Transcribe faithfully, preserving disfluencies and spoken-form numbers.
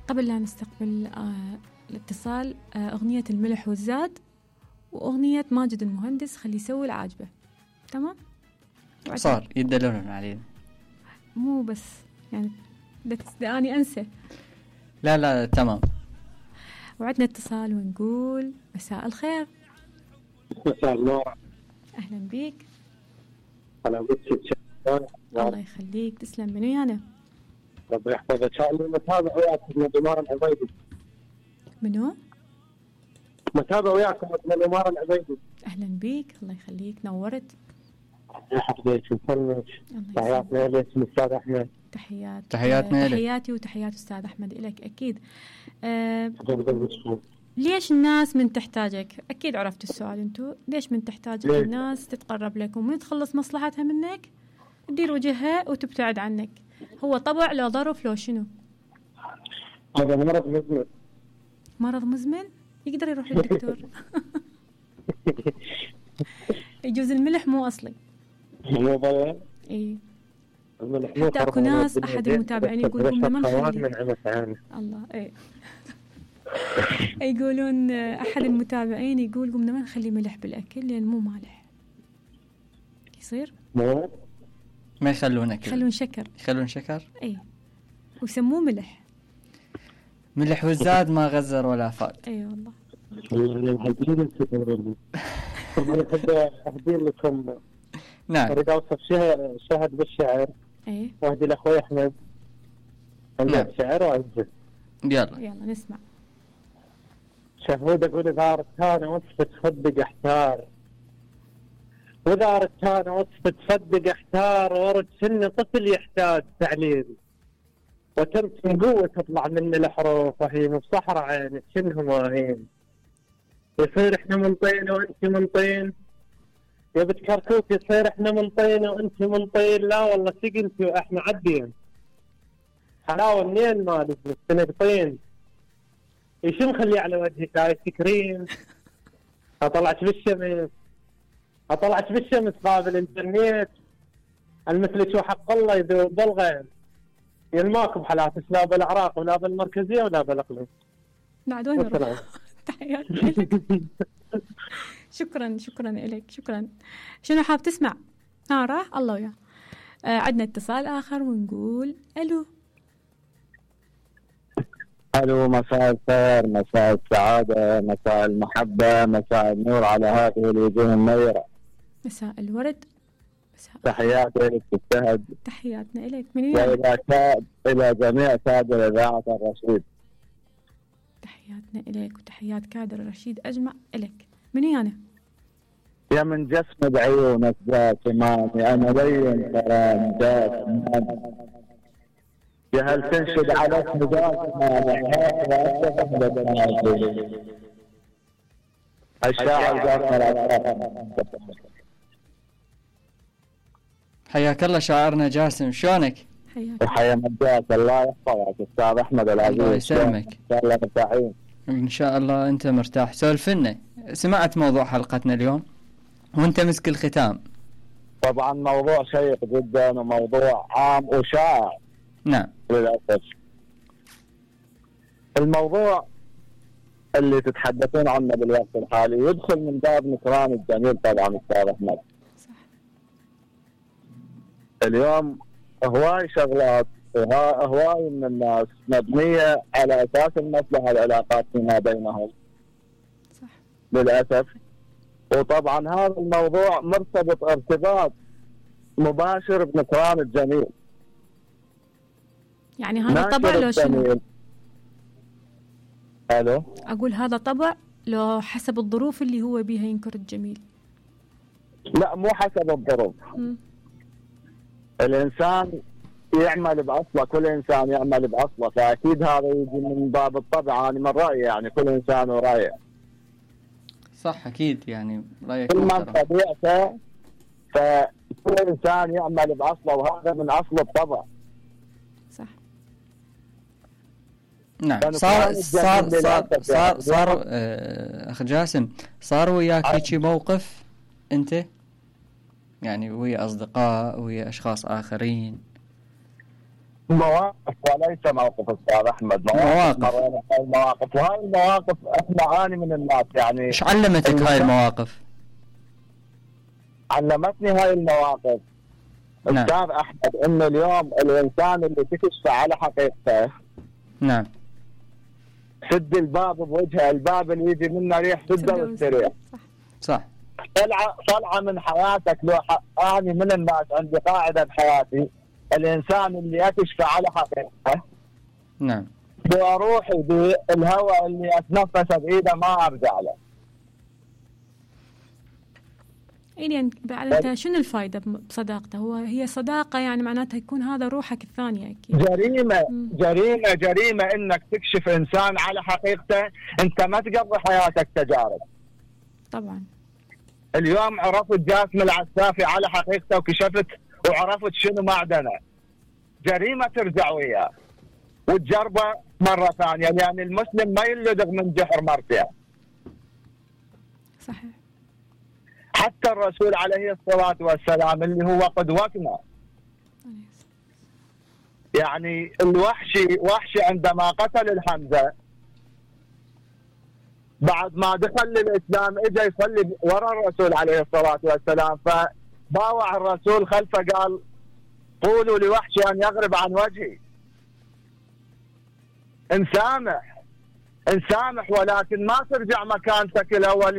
قبل لا نستقبل آه الاتصال، آه أغنية الملح والزاد وأغنية ماجد المهندس خلي يسوي العاجبة. تمام؟ صار يدلون علينا، مو بس يعني داني أنسى. لا لا تمام. وعدنا اتصال ونقول مساء الخير. مساء النور. أهلا بيك. أنا بك. الله يخليك، تسلم. من ويانا؟ ربي يحفظك. أنا متابع وياكم من الإمارة العبيدي. منو؟ متابع وياكم من الإمارة العبيدي. أهلا بيك، الله يخليك، نورت. يحفظك ويسلمك. تحياتنا لك أستاذ أحمد. تحيات تحياتنا لك. تحياتي وتحيات أستاذ أحمد لك أكيد. أه أه ليش الناس من تحتاجك؟ أكيد عرفت السؤال أنتو. ليش من تحتاجك ليه؟ الناس تتقرب لك ومن تخلص مصلحتها منك تدير وجهها وتبتعد عنك. هو طبع لو ظرف لو شنو؟ هذا مرض مزمن. مرض مزمن؟ يقدر يروح للدكتور. يجوز الملح مو أصلي. مو ضيع. إيه. حتى أكو ناس أحد المتابعين يقول قمنا ما نخلي. الله إيه. يقولون أحد المتابعين يقول قمنا ما نخلي ملح بالأكل لأن مو مالح. يصير؟ مو ما يخلونك. يخلون شكر. يخلون شكر. إيه. ويسموه ملح. ملح والزاد ما غزر ولا فاد. اي والله. انا احب اهدي لكم. نعم. اريد اوصف شهد بالشعر. اي. واهدي لاخوي احمد. عنده نعم. شعر وعزه. يلا يلا نسمع. شهود اقول اذا اردت انا وصفة تصدق احتار، واذا اردت انا وصفة تصدق احتار، ورد سن طفل يحتاج تعليم، وتمتم قوة تطلع من الحروف وهي مصحرة عينك شنه ماهين، يصير احنا من طين وانت من طين، يا بنت كركوك يصير احنا من طين وانت من طين، لا والله سقنتي واحنا عدين، حلاوة منين مالك بس طين، ايش مخلي على وجهك ايس كريم، اطلعت بالشمس اطلعت بالشمس قابل الانترنت، المثلك وحق الله يذوب بالغيب، يلماكم بحالات لا بالعراق ولا بالمركزية ولا بالاقليم. بعد وين نروح؟ تحياتي لك. شكرا شكرا لك شكرا. شنو حاب تسمع؟ ها راح الله وياه. آه عندنا اتصال آخر ونقول ألو. ألو، مساء الخير، مساء السعادة، مساء المحبة، مساء النور على هذه الوجوه النيرة. مساء الورد. مساء تحياتي لك تستهد. تحياتنا لك. من وين؟ وإلى كاد إلى جميع كادر إذاعة الرشيد. تحياتنا لك وتحيات كادر الرشيد أجمع لك. من وين أنا؟ يا من جسم بعيونك ذات إمامي أنا لين كرام ذات إمامي، يا هل تنشد على اسم ذات إمامي هذا أسفل الشاعر ذات. حياك الله شاعرنا جاسم، شلونك؟ حياك. وحيا مجاك، الله يحفظك أستاذ أحمد العزيز. الله يسلمك. إن شاء الله مرتاحين. إن شاء الله أنت مرتاح. سولفنا، سمعت موضوع حلقتنا اليوم وأنت مسك الختام. طبعا موضوع شيق جدا وموضوع عام وشائع. نعم. للأسف الموضوع اللي تتحدثون عنه بالوقت الحالي يدخل من باب نكران الجميل طبعا أستاذ أحمد. صح. اليوم هواي شغلات وهواي من الناس مبنية على أساس المصلحة العلاقات فيما بينهم. صح. للأسف. وطبعا هذا الموضوع مرتبط ارتباط مباشر بنكران الجميل. يعني هذا طبع لو شنو؟ ألو؟ أقول هذا طبع لو حسب الظروف اللي هو بيها ينكر الجميل. لا مو حسب الظروف. م. الإنسان يعمل بأصله، كل إنسان يعمل بأصله، فأكيد هذا يجي من باب الطبع. أنا من رأيي يعني كل إنسان ورأيه. صح أكيد، يعني رأيك كل من محترم. طبيعته، فكل إنسان يعمل بأصله وهذا من أصل الطبع. صح. نعم. صار صار صار صار, صار آه أخ جاسم، صار وياك هيك موقف أنت يعني ويا أصدقاء ويا أشخاص آخرين مواقف وليس موقف استاذ احمد، مواقف مواقف المواقف وهاي المواقف احنا عاني من الناس يعني. ايش علمتك هاي المواقف؟ علمتني هاي المواقف نعم. استاذ احمد ان اليوم الانسان اللي تكشف على حقيقته نعم سد الباب بوجهه، الباب اللي يجي منه ريح سده واستريح. صح صح. طلعه طلعه من حياتك. لو اني من الناس عندي قاعده بحياتي، الانسان اللي اكشف على حقيقته نعم لو اروح بالهواء اللي اتنفسه بايده ما ارجع له. يعني بعد انت شنو الفائده بصداقته؟ هو هي صداقه يعني معناتها يكون هذا روحك الثانيه اكيد. جريمه مم. جريمه جريمه انك تكشف انسان على حقيقته. انت ما تقضي حياتك تجارب. طبعا اليوم عرفت جاسم العسافي على حقيقته وكشفت وعرفت شنو معدنه، جريمه ترجع وياه وتجربه مره ثانيه، لان يعني المسلم ما يلدغ من جحر مرتين. صحيح. حتى الرسول عليه الصلاه والسلام اللي هو قدوتنا، يعني الوحشي وحشي عندما قتل الحمزه بعد ما دخل للاسلام اجى يصلي وراء الرسول عليه الصلاه والسلام، فباوع الرسول خلفه قال قولوا لوحشي ان يغرب عن وجهي. نسامح نسامح ولكن ما ترجع مكانتك الاول.